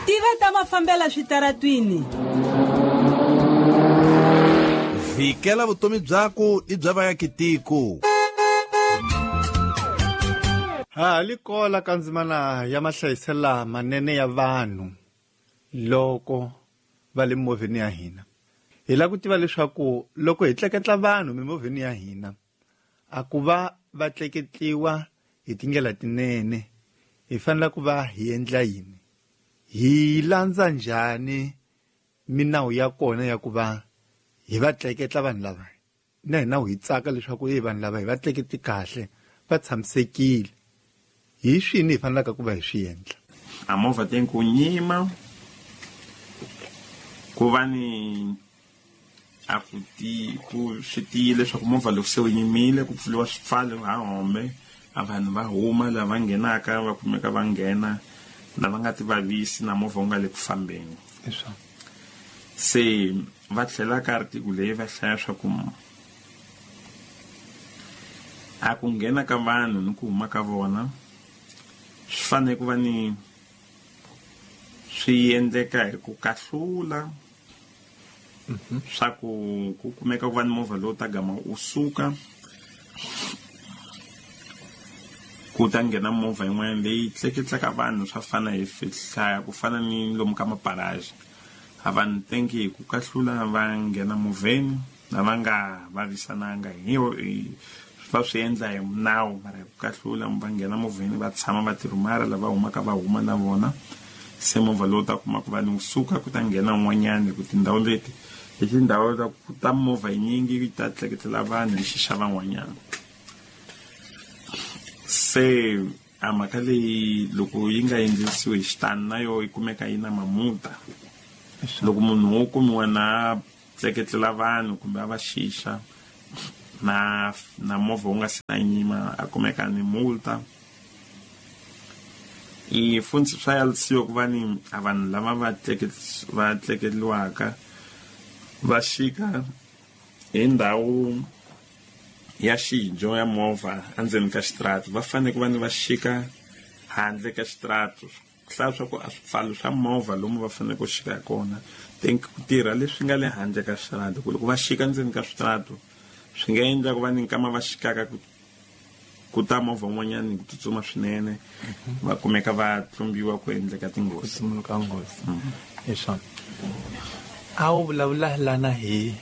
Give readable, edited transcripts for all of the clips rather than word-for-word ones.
Tiva ta mafambela switaratwini. Vhikela vutomi byaku ni bya vaakitiko. Ha li kola ka ndzimana ya mahlayiselo lamanene ya vanhu loko va le mimovheni ya hina. Hi lava ku tiva leswaku loko hi tleketla vanhu mimovheni ya hina, a ku va va tleketliwa hi tindlela tinene, hi fanele ku va hi endla yini? Hi landza njhani minawu ya kona ya ku va hi va tleketla vanhu lava? Na hina hi tsaka leswaku e vanhu lava hi va tleketli kahle, va tshamisekile. Hi swini hi fanelaka ku va hi swi endla? A movha tem ku nyima, ku va ni a ku ti ku swi tiyile leswaku movha loko se wu yimile ku pfuriwa swipfalo ha hombe, a vanhu va huma lava nghenaka va kumeka va nghena, lava nga ti vavisi na movha wu nga le ku fambeni. Se va tlhela ka article leyi va hlaya swa ku a ku nghena ka vanhu ni ku huma ka vona swi fanele ku va ni swi endleka hi ku kahlula swa ku ku kumeka ku va ni movha lowu ta gama wu suka ku ta nghena movha yin'wana leyi tleketlaka vanhu swa fana hi hlaya ku fana ni lomu ka maparaji. A vanhu tenki hi ku kahlula va nghena movheni na va nga vavisananga hi va swi endla hi nawu, mara hi ku kahlula va nghena movheni va tshama va tirhumara lava humaka va huma na vona. Se movha lowu ta kuma ku va ni suka ku ta nghena un'wanyani hi ku tindhawu leti hi tindhawu ta ku ta movha yinyingi yi ta tleketlela vanhu hi xixa van'wanyana. Se a mhaka leyi loko yi nga endlisiwi hi xitani na yo yi kumeka yi na mamuta. Loko munhu wo kumiwa na tleketlela vanhu kumbe a va xixa na movha wu nga se na nyima a kumeka ni multa. I funtsi swa yalisiwa ku va ni a vanhu lava va va tleketliwaka va xika hi ndhawu ya xijo ya movha endzeni ka xitarata, va fanele ku va ni va xika handle ka xitarata. Hlaya swa ku a swipfalo swa movha lomu va fanele ku xika hi kona think ku tirha leswi nga le handle ka xitarata, ku loko va xika ndzeni ka switarata swi nga endla ku va ni nkama va xikaka ku ta movha wun'wanyani ku tsutsuma swinene, va kumeka va tlumbiwa ku endleka tinghozi. Ku sunguluka nghozi. Hi swona. A wu vulavula lana hi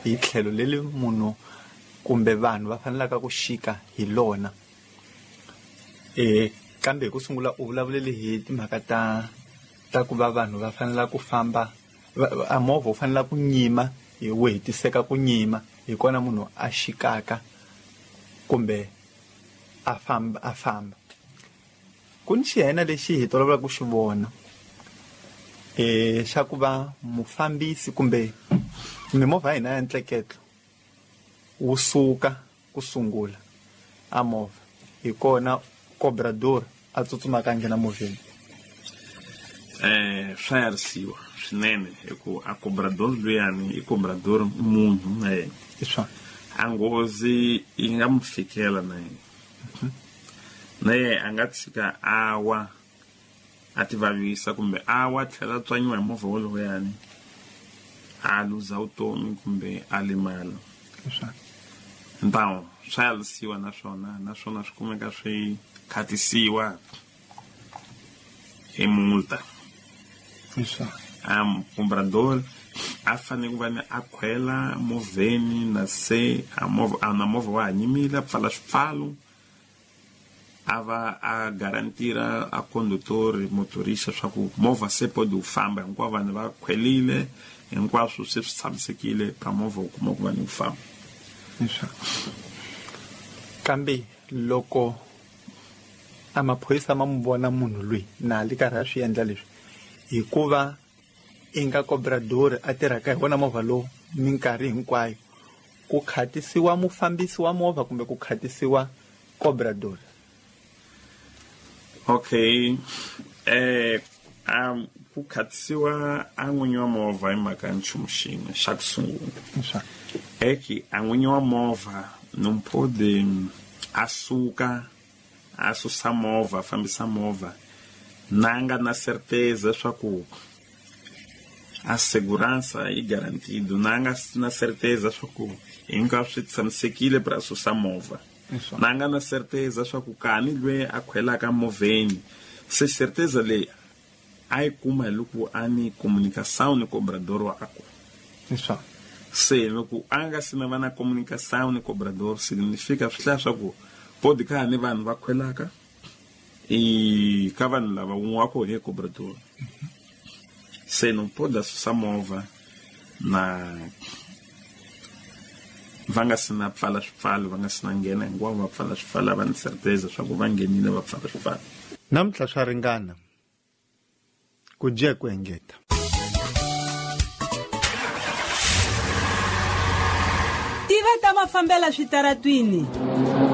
tlhelo leri munhu kumbe vanhu va fanelaka ku xika hi lona. Kambe hi ku sungula u vulavulele hi timhaka ta ku va vanhu va fanela ku famba, a movha wu fanela ku nyima, hi wu hetiseka ku nyima, hi kona munhu a xikaka kumbe a famba, a famba. Ku ni xihena lexi hi tolovelaka ku xi vona, xa ku va mufambisi kumbe mimovha ya hina ya ntleketlo wu suka ku sungula a movha, hi kona cobrador a tsutsumaka a nghena movheni. Swa yarisiwa swinene hi ku a cobrador luyani i cobrador munhu na yena. Hi swona. A nghozi yi nga mu fikela na yena. Na yena a nga tshika a wa a ti vavisa kumbe a wa tlhela a tswanyiwa hi movha wolowuyani a luza vutomi kumbe a limala. Hi swona. Então swa yarisiwa naswona, naswona swi kumeka swi khatisiwa hi multa. Hi swona. Cobrador a fanele ku va ni a khwela movheni na se a movha, a na movha wa ha nyimile, a pfala swipfalo, a va a garantira a conductor motorista swa ku movha se pode wu famba, hinkwavo vanhu va khwelile, hinkwaswo se swi tshamisekile ka movha wu kuma ku va ni wu famba. Hi swona. Kambe loko a maphorisa ma n'wi vona munhu loyi na li karhi a swi endla leswi, hikuva i nga cobrador a tirhaka hi wona movha lowu minkarhi hinkwayo, ku khatisiwa mufambisi wa movha kumbe ku khatisiwa cobrador? Okay. Ku khatisiwa a n'winyi wa movha hi mhaka ya nchumu xin'we xa ku sungula. Hi swona. Eki a n'winyi wa movha não pode a suka a susa movha, a fambisa movha Na nga na certeza swa ku a segurança yi garantido, na nga na certeza swa ku hinkwaswo swi tshamisekile para susa movha. Na nga na certeza swa ku kani lweyi a khwelaka movheni, se certeza leyi a yi kuma hi loko a ni comunicação ni cobrador wakwe. Se loko a nga si na va na comunicação ni cobrador, significa swi hlaya swa ku pode ka ha ni vanhu va khwelaka i ka vanhu lava wun'we wa kona hi cobrador. Se não pode susa movha na va nga si na pfala swipfalo, va nga si na nghena hinkwavo va pfala swipfalo, va ni certeza swa ku va nghenile va pfala swipfalo. Namuntlha swa ringana ku dye ku engeta. Tiva ta mafambela switaratwini.